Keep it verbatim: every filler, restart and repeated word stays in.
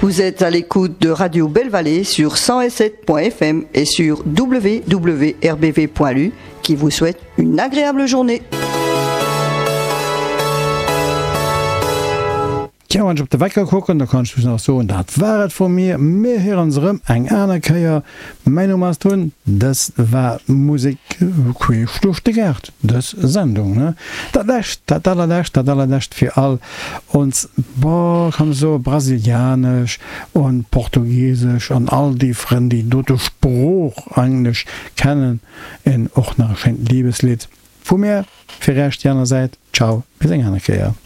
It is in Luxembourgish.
Vous êtes à l'écoute de Radio Belle Vallée sur cent sept point F M et sur W W R B V point L U qui vous souhaite une agréable journée. Tja, wann ech op de Wecker kucken, da kann ech just nach soen, dat war et vu mir. Mir héieren ons erëm eng aner Kéier. Mäin Numm ass Tun, dës war Musek queesch duerch de Gaart, dës Sendung, ne? Dat lescht, dat allerlescht, dat allerlescht fir all ons, boah, kann ech soen, brasilianesch an portugiesesch an all déi Frënn, déi dote Sprooch eigentlech kennen, en och nach e schéint Liebeslidd vu mir fir Iech déi aner Säit. Ciao, bis eng aner Kéier.